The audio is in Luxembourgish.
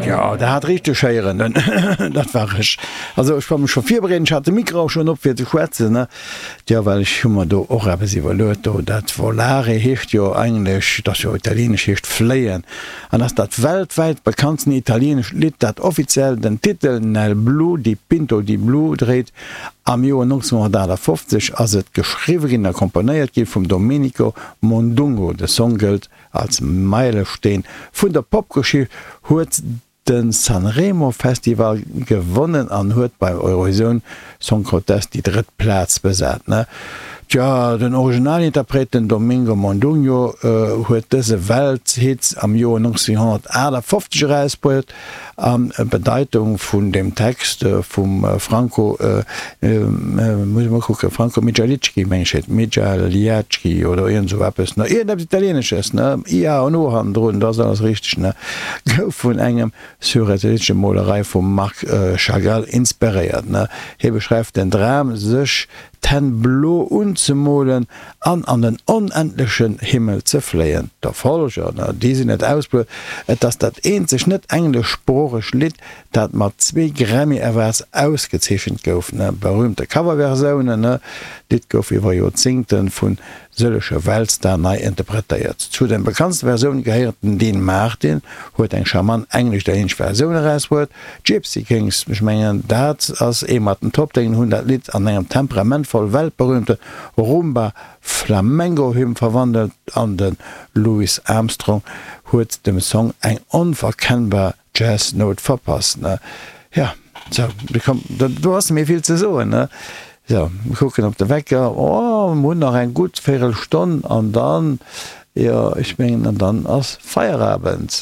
Jo, der hat richteg héieren, dat war ech. Also ech war mech scho virbereet, ech hat de Mikro och schonn op fir ze schwätzen, ne? Jo, well ech hu mer do och eppes iwwerluet do. Dat Volare heescht jo eigentlech, dat ass jo italieenesch, heescht fléien an ass dat weltwäit bekanntsten italieenescht Lidd, dat offiziell den Titel Nel blu dipinto di blu dréit. Am Joer 1958 ass et geschriwwe ginn a komponéiert gi vum Domenico Modugno. De Song gëllt Als Meilesteen vun der Popgeschicht huet de Sanremo Festival gewonnen an huet beim Eurovision Song Contest déi drëtt Plaz besat. Tja, den Originalinterpret, den Domingo Modugno, huet dëse Welthit am Joer 1958 erausbruet An d'Bedeitung vun deem Text vum Franco, muss ech mol kucken, Franco Miglialicchi, meng ech heet, Miglialiacchi oder iergend esou eppes, ne, iergendeppes Italienesches, ne, ia an o hannendrun, da ass alles richteg, ne, gouf vun engem surrealistesche Molerei vum Marc Chagall inspiréiert, ne. Hie beschreift den Dram, sech d'Hänn blo unzemolen an an den onendlechen Himmel ze fléien. D'Erfolger, na, déi sinn net ausbluef. Et ass dat eenzegt net-engleschsproochegt Lidd, dat mat zwee Grammy Awards ausgezeechent gouf. Ne, berühmte Coverversiounen, ne, d'Lidd gouf iwwer Joerzéngte vu sëllege Weltstar nei interpretéiert. Zu den bekanntste Versioune gehéieren den Dean Martin huet eng charmant englesch-italieenesch Versioun erausbruet, D'Gypsy Kings, ech mengen dat ass ee mat den Top-Déngen, hunn dat Lidd an engem temperamentvoll weltberühmte Rumba Flamengo Hymn verwandelt an de Louis Armstrong huet dem Song eng onverkennbar Jazz-Nout verpasst. Ne? Ja, sou, komm, do ass net méi vill ze soen, ne? Sou, mir kucken op de Wecker, oh, mir hunn nach eng gutt Véirelstonn an dann, jo, ech mengen, an dann ass Feierabend.